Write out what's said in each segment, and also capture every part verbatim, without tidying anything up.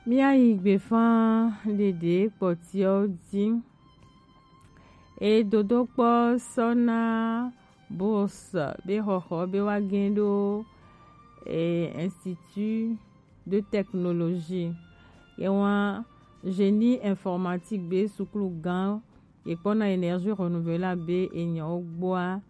Míayi gbefa ɖeɖe kpɔtiɔ ji. E dodokpɔ sɔ na bourse be xɔxɔ be wa gɛn ɖo e Institut de Technologie. Ye wa génie informatique be suklu gan ye kpɔna énergie renouvelable be enyawo gbɔa.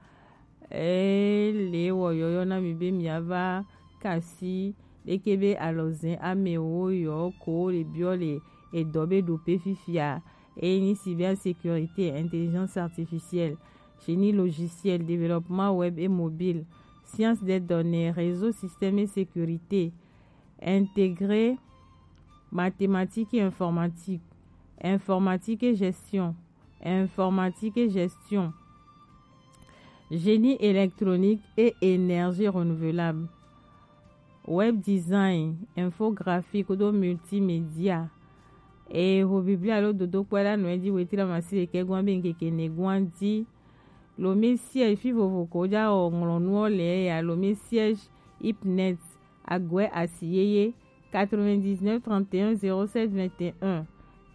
Ele wɔ yɔyɔ na mi be miava kasi ɖeke be alɔzɛn amewo yɔ ko le biɔ le edɔ be ɖo pe fifia. Eye nyi cybersécurité, intelligence artificielle, génie logiciel, développement web et mobile, science des données, réseau, système et sécurité intégré, mathématiques et informatique, informatique et gestion, informatique et gestion, génie électronique et énergie renouvelable, web design, infographie kudo multimédia. E ho Biblia lo dodokpɔ la nɔ e ji wetri amasi ɖekɛ gwan be ŋkeke ne gwan ji. Lome siège fi vovo ko ja o ŋlɔnuɔ le ya, lome siège ipnet, agɔɛ asi yeye, quatre-vingt-dix-neuf trente et un zéro sept vingt et un,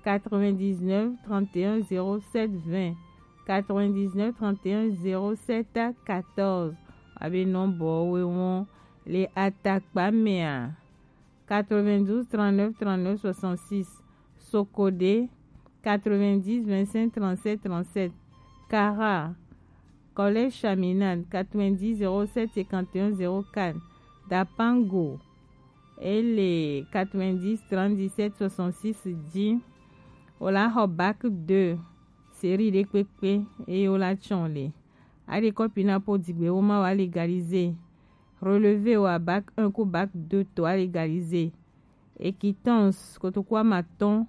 quatre-vingt-dix-neuf trente et un zéro sept vingt, quatre-vingt-dix-neuf trente et un zéro sept quatorze. Abe nɔmbɔ we wɔn le atakpa mea, quatre-vingt-douze trente-neuf trente-neuf soixante-six, Sokode, quatre-vingt-dix vingt-cinq trente-sept trente-sept, Kara, Collège Chaminade, quatre-vingt-dix zéro sept cinquante et un zéro quatre, Dapango, ele quatre-vingt-dix trente-dix-sept soixante-six ji. Ola xɔ bac deux, série ɖe kpekpe, eye ola tsɔn le. Aɖe kɔpi na po digbe wo ma wa légaliser. Relevé wa bac un ku bac deux to a légaliser. Ekitɔns kotoku amatɔn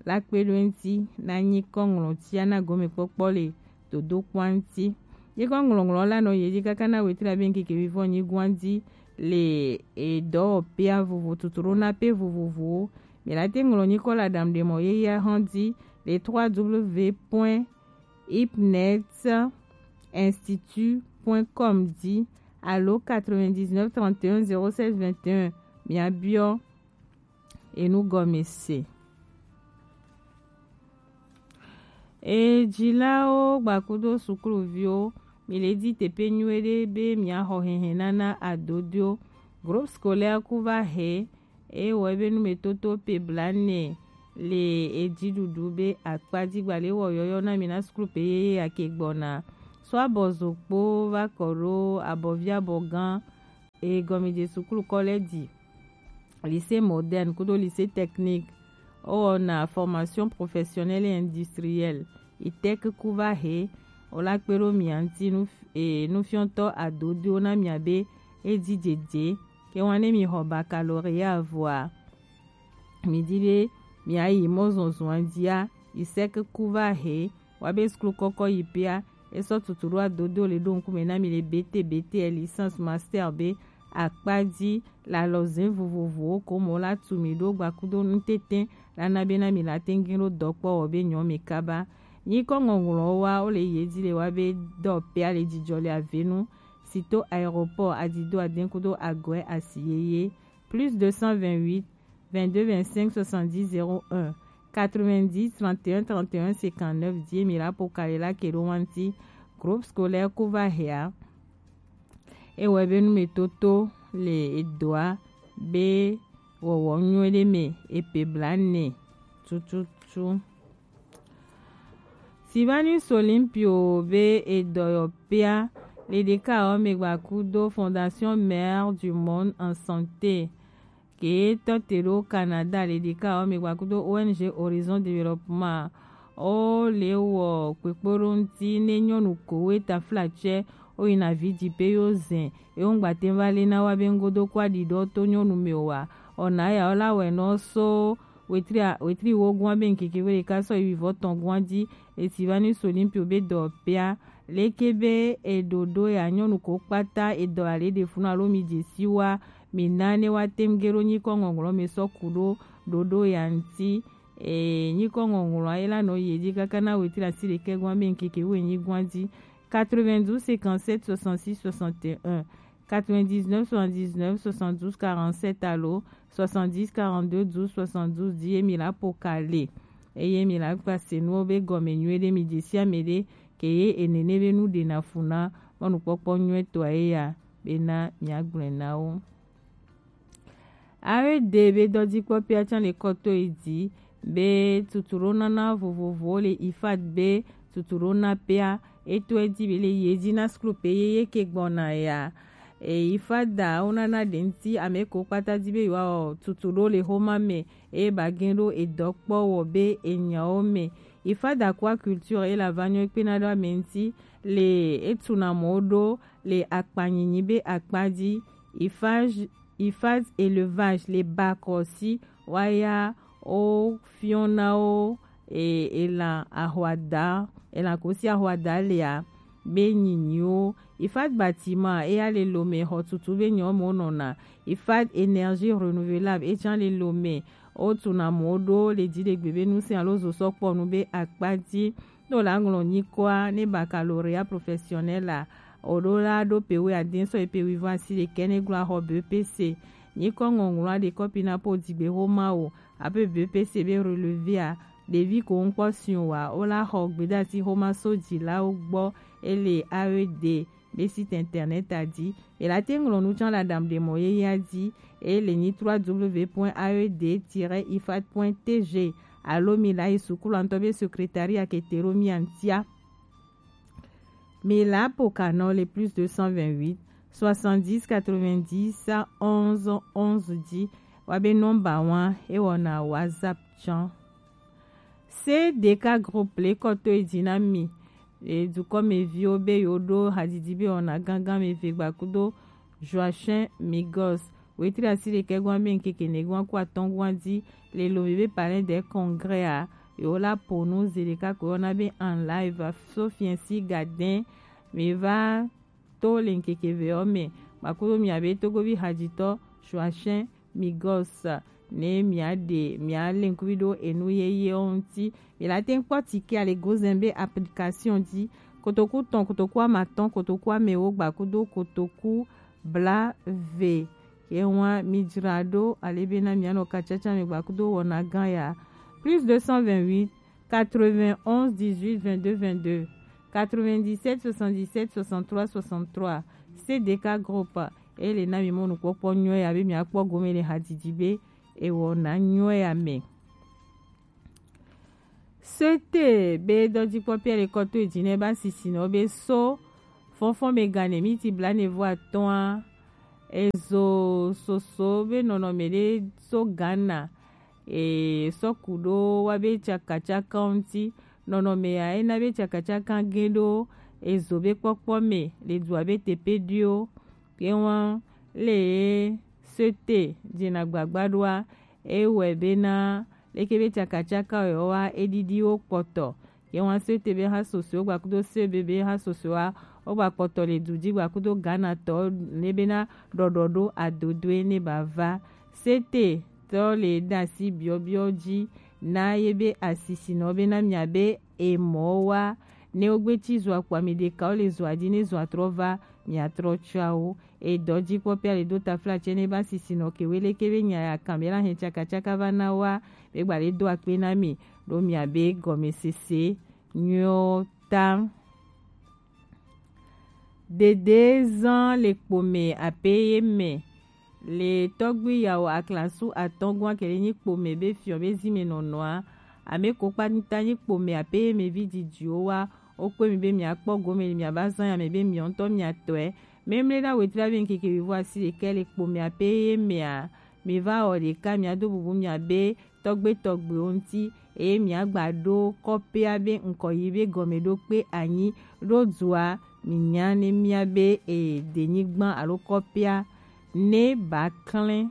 la kpe ɖo eŋuti na nyikɔ ŋlɔtia na gɔmekpɔkpɔ le dodokpɔa ŋuti. Nyikɔ ŋlɔŋlɔ la nɔ ye dzi kaka na wetri abe ŋkeke vivɔ nyigɔa dzi le edɔwɔpea vovo tutu ɖo na pe vovovowo. Mi la te ŋlɔ nyikɔ la ɖam ɖe mɔ yeyea hɔn dzi le trois W point ipnet institut point com dzi alo quatre-vingt-dix-neuf trente et un zéro sept vingt et un. Miabiɔ enu gɔme se. E dzilawo gbakudo sukluviwo, mi le di teƒe nyuie ɖe be miaxɔ hehenana adodoewo. Groupe scolaire ku va he eye wɔ ebe numetoto pe blanɛ le edziɖuɖu be akpa dzi gba le wɔ yɔyɔ na mi na suklu pe yeye ake gbɔna. So abɔ zokpo va kɔ ɖo abɔvi abɔ gã. Eye gɔmedze suklu kɔ lɛ di lycée moderne kudo lycée technique. Wowɔna formation professionnelle et industrielle. Itec ku va he, wola kpe ɖo mia ŋuti nu, e, nufiɔtɔ adodoewo na mia be edzi dzedze. Ke wan ne mi xɔ baccalauréat vɔa, mi di be mia yi mɔzɔzɔa dzia, Isaac ku va he, wa be suklu kɔkɔ yi pea, esɔ tutu ɖo adodo le ɖo ŋkume na mi le B T, B T L, licence, master be akpa dzi le alɔze vovovowo ko mɔ la tu mi ɖo gbakudo nutete la na be na mi la tengi ɖo dɔkpɔ wɔ be nyɔ mi kaba. Nyikɔ ŋɔŋlɔ wa wo le ye dzi le wa be dɔ pea le dzidzɔ le avenu si to aéroport adido aden kudo agɔe asi yeye. Plus deux cent vingt-huit, vingt-deux vingt-cinq soixante-dix zéro un, quatre-vingt-dix trente et un trente et un cinquante-neuf die mi la po kale la ke ɖo wanti. Groupe scolaire ku va hea. Ewɔe be numetoto le edoa be wɔwɔ nyuie ɖe me epe blanɛ tututu. Silvanus Olympio be edɔyɔpea le ɖeka ɔ me gbakudo Fondation Mère du Monde en Santé ke tɔ te ɖo Canada le ɖeka ɔ me gbakudo O N G Horizon Développement. O le wɔ kpekpo ɖo ŋuti ne nyɔnu kowe taflatsɛ wo yina vi dzi pe yo zɛn ye wo ŋgba te va le na wa be ŋgodo kɔ aɖi ɖɔ to nyɔnu me o wa. Ɔna ya wo la wɛ nɔ so wetri a-, wetri wo gua be ŋkeke we ɖeka sɔ yi vivɔ tɔn gua dzi. Esi va ni so Olympio be dɔ pea leke be eɖoɖo ya nyɔnu ko kpata edɔ ale ɖe funu alo mi dze si wa mi na ne wa tem ge ɖo nyikɔ ŋɔŋlɔ me sɔ ku ɖo ɖoɖo ya ŋti. E, nyikɔ ŋɔŋlɔ ye la nɔ ye dzi kaka na wetri asi ɖekɛ gua be ŋkeke we nyi gua dzi. Quatre-vingt-douze cinquante-sept soixante-six soixante et un, quatre-vingt-dix-neuf soixante-dix-neuf soixante-douze quarante-sept alo soixante-dix quarante-deux douze soixante-douze dzi ye mi la po ka le. Eye mi la gba se nuwo be gɔme nyuie ɖe, mi dze si ame ɖe ke ye enene be nu ɖe na fu na mɔnukpɔkpɔ nyuie tɔ ye ya be na mi agblɔe na wo. A E D be dɔdzikpɔkpɔa tsã le kɔ to yi dzi be tutuɖonana vovovowo le ifad be tutuɖonapea, e to edzi be le ye dzi na skul pe ye ye ke gbɔna ya. E ifada wo nana ɖe ŋuti ame ko kpata di be yewoawɔ tutuɖo le xoma me eye ba gen ɖo edɔ kpɔ wɔ be enyawo me. Ifada kua culture ela va nyɔ kpena ɖo ame ŋuti le etuna mɔ ɖo le akpanyinyi be akpa dzi. Ifaz ifaz élevage le bakɔ si waya wo fiɔna wo e, elan ahwada elan ko si ahwada lea be nyinyiwo. Ifad bâtiment eya le lome xɔ tutu be nyɔ mo nɔna. Ifad énergie renouvelable etsã le lome wo tuna mo ɖo le dziɖegbe be nu sia lo zo sɔ kpɔ nu be akpa dzi. Ne wòle aŋlɔ nyikɔa ne baccalauréat professionnel a, wòɖo la ɖo pe wuiade sɔ yi pe wuive asi ɖekɛ ne glo axɔ B E P C. Nyikɔ ŋɔŋlɔa ɖe kɔpi na po dzigbe xoma o abe B E P C be relevé a, ɖevi ko ŋkpɔ si o wa, wola xɔ gbedasi xoma so dzilawo gbɔ ele A E D be site internet a dzi. Mi la te ŋlɔ nu tsã le aɖaŋuɖemɔ yeyea dzi eye le nyi trois W point A E D tiret ifad point T G alo mi la yi sukulu ŋutɔ be secrétariat ke te ɖo mia ŋutia. Mi la po ka nɔ le plus deux cent vingt-huit soixante-dix quatre-vingt-dix onze onze dzi wa be nɔmba wa ewɔna WhatsApp tsã. C D K groupe le kɔ to yi dzi na mi. E, dukɔmeviwo be yewoɖo hadzidzi be wɔna gangan ame eve gbakudo Joachim Migos. Wetri asi ɖekɛ gɔn be ŋkeke ne gɔn ku atɔn gɔn dzi le lomi be Palais des Congrès a, yewo la po nu ze ɖeka ko yɔna be en live so fiɛsi gadɛn. Mi va to le ŋkeke ve ɔ me gbakudo mia be Togovi hadzitɔ Joachim Migos ne mia ɖe mia le ŋkuvi ɖo enu yeye wo ŋuti. Mi la te kpɔ tike ale gozɛn be application dzi. Kotoku tɔn, kotoku amatɔn, kotoku amewo gbakudo kotoku bla ve. Ye wa mi dzra ɖo ale be na mia nɔ katsatsa me gbakudo wɔna gan ya. Plus deux cent vingt-huit quatre-vingt-onze dix-huit vingt-deux vingt-deux, quatre-vingt-dix-sept soixante-dix-sept soixante-trois soixante-trois. C D K groupe ele na mi mɔnukpɔkpɔ nyuie ya be mia kpɔ gome le hadzidzi be ewɔ na nyuie ya me. Sete be dɔdzikpɔkpɔ le kɔ to edzi ne ba sisi nɔ be so fɔnfɔn me gane miti bla ne vo atɔa ezo soso be nɔnɔme ɖe so Ghana e sɔ ku ɖo wa be tsakatsaka ŋuti. Nɔnɔme ya ena be tsakatsaka ge ɖo ezo be kpɔkpɔ me le dua be tepe ɖio. Ke wa le sete dzena gbagba ɖoa ewɔe bena leke be tsakatsaka wɔ wa eɖiɖi wo kpɔtɔ. Ye wa sete be ha soso gbakudo se be be ha soso wa wo gba kpɔtɔ le du dzi gbakudo Ghana tɔ ne bena ɖɔɖɔ ɖo adodoe ne ba va. Sete tɔ le ɖe asi biɔbiɔ dzi na ye be asisi nɔ bena mia be emɔ wa ne wo gbe tsi zua kpɔ ami ɖeka wo le zua dzi ne zua trɔ va mia trɔ tsɔa wo. E dɔdzikpɔkpɔ ale do tafla tsɛ ne ba sisi nɔ ke wele ke be nya ya kan be la hɛn tsakatsaka va na wa be gba le do akpe na mi ɖo mia be gɔmesese nyuiɔ ta. Dede zan le kpome ape ye me le tɔgbi yawo aklasu atɔngua kele nyi kpome be fiɔ be zi me nɔnɔa. Ame ko kpata nyi kpome ape ye me vi didiwo wa. Wo kpe mi be mia kpɔ gome le mia ba zan ya me be mia ŋutɔ mia tɔe. Memle na wetri abe ŋkeke wivo asi ɖekɛ le kpo mia be ye mea, mi va wɔ ɖeka mia do bubu mia be tɔgbe tɔgbewo ŋuti, eye mia gba ɖo kɔƒea be ŋkɔ yi be gɔme ɖo kpe anyi ɖo dua mi nya ne mia be e denyigba alo kɔƒea ne ba klẽ.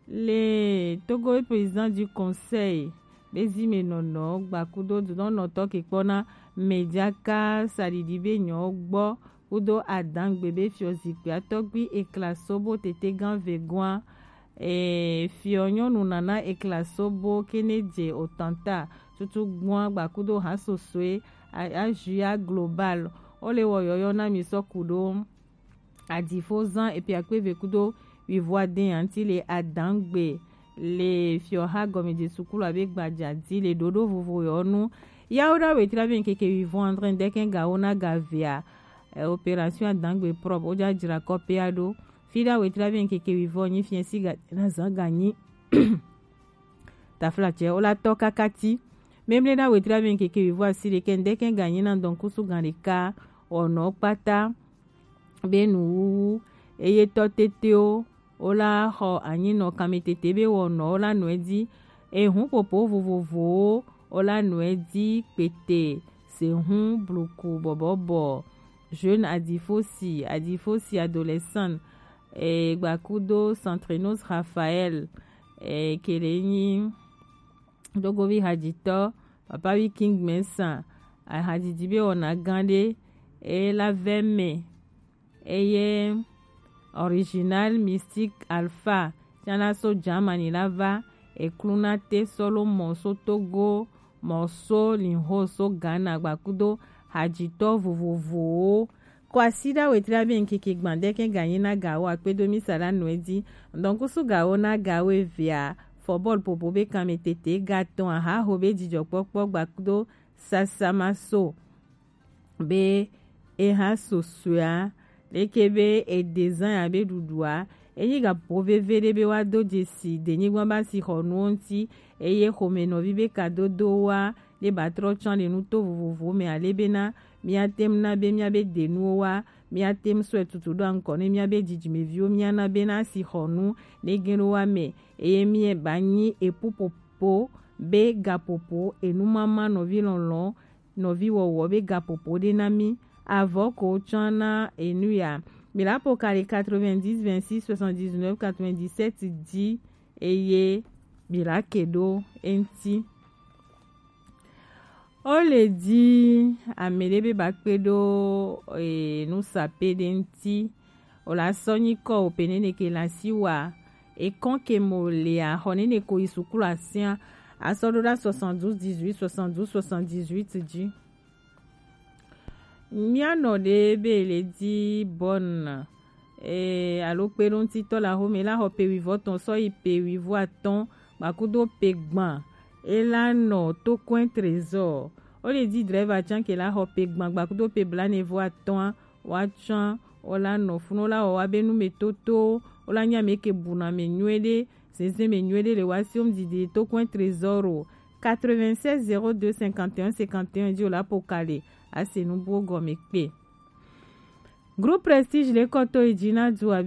Le Togo président du conseil be zi me nɔnɔ gbakudo dunɔnɔtɔ ke kpɔna mejaka saɖiɖi be nyɔ gbɔ kudo adangbe be fiɔ zikpui atɔgbi ekla sobo tete gan vegoa. E, fiɔ nyɔnu nana ekla sobo kene dze otanta tutu gbɔa gbakudo hasosoe a, a juya global. O le wɔ yɔyɔ na mi sɔ kudo Adifo zan epe akpe eve kudo wivo aden anti le adangbe le fiɔha gɔmedze sukulu abe gbadza di le ɖoɖo vovo yɔ nu. Yawo ɖa wetri abe ŋkeke wivo andre dɛkɛ gawo na gavea. Eh, opération adangbe propre wo dza dzra kɔpea ɖo. Fi ɖa wetri abe ŋkeke wivo nyi fiɛ si ga na zan ganyi. Taflatsɛ wo la tɔ kakati. Memle ɖa wetri abe ŋkeke wivo asi ɖekɛ ŋdɛkɛ ganyi na dɔnkusu gan ɖeka. Ɔnɔ kpata be nuwuwu eye tɔ tetewo wo la xɔ anyinɔ kametete be wɔnɔ wo la nɔe di. Ehun popo vovovowo wo la nɔe di kpete sehun bluku bɔbɔbɔ jeune adifosi adifosi adolescent, eh, gbakudo Centrinos Raphaël, eh, kele nyi dogovi hadzitɔ papa wi king mɛsa ahadzidzi be wɔna gã ɖe eye la vɛ mɛ eye original mystique alpha tsana so Germany la va ekluna te solo mɔ so Togo mɔ so linho so Ghana gbakudo hadzitɔ vovovowo. Kwasiɖa wetri abe ŋkeke gbãdɛkɛ ganyi na gawo akpedo misa la nɔe di. Ŋdɔnkusu gawo na gawo evea fɔbɔl popo be kanmetete gatɔn ahaho be dzidzɔkpɔkpɔ gbakudo sasamaso be eha sosoea leke be edezan ya be ɖuɖua enyi gaƒoƒo veve ɖe be woado dzesi denyigba be asixɔnuwo ŋuti eye xome nɔvi be kadodowoa ɖe batrɔ tsɔ le nuto vovovowo me ale bena míate ŋu na be míabe denuwo wa míate ŋu sɔe tutu ɖo aŋkɔ ne míabe dzidzimeviwo míana bena asixɔnu ne gen ɖo wa me eye míe ba nyi epu popo be gaƒoƒo enumama nɔvi lɔlɔ nɔviwɔwɔ be gaƒoƒo ɖe na mí. Avɔ ko tsã na enu ya. Mi la po kali quatre-vingt-dix vingt-six soixante-dix-neuf quatre-vingt-dix-sept dzi eye mi la ke ɖo eŋuti. Wo le di ame ɖe be ba kpe ɖo e, nusape ɖe ŋuti. O la sɔ nyikɔ o pe nene ke la si wa ekɔn ke mo lea xɔ nene ko yi sukulu asia asɔ ɖo ɖa soixante-douze dix-huit soixante-douze soixante-dix-huit dzi. Míanɔ ɖe be le di bɔn e, alo kpeɖoŋutitɔ le axome la xɔ pe wivɔtɔn sɔ yi pe wivoatɔn gbakudo pe gbã e la nɔ tokɔe trésor. Wo le di drɛva tsã ke la xɔ pe gbã gbakudo pe blanevoatɔn woatsã wo la nɔ funu wo la wɔ wa be nu me toto wo la nya me ke buna me nyuie ɖe zeze me nyuie ɖe le wa si wo mu didi tokɔe trésor o quatre-vingt-seize zéro deux cinquante et un cinquante et un dzi wo la po kale ase nu buwo gɔme kpe. Groupe Prestige le kɔto yi dzi na du abe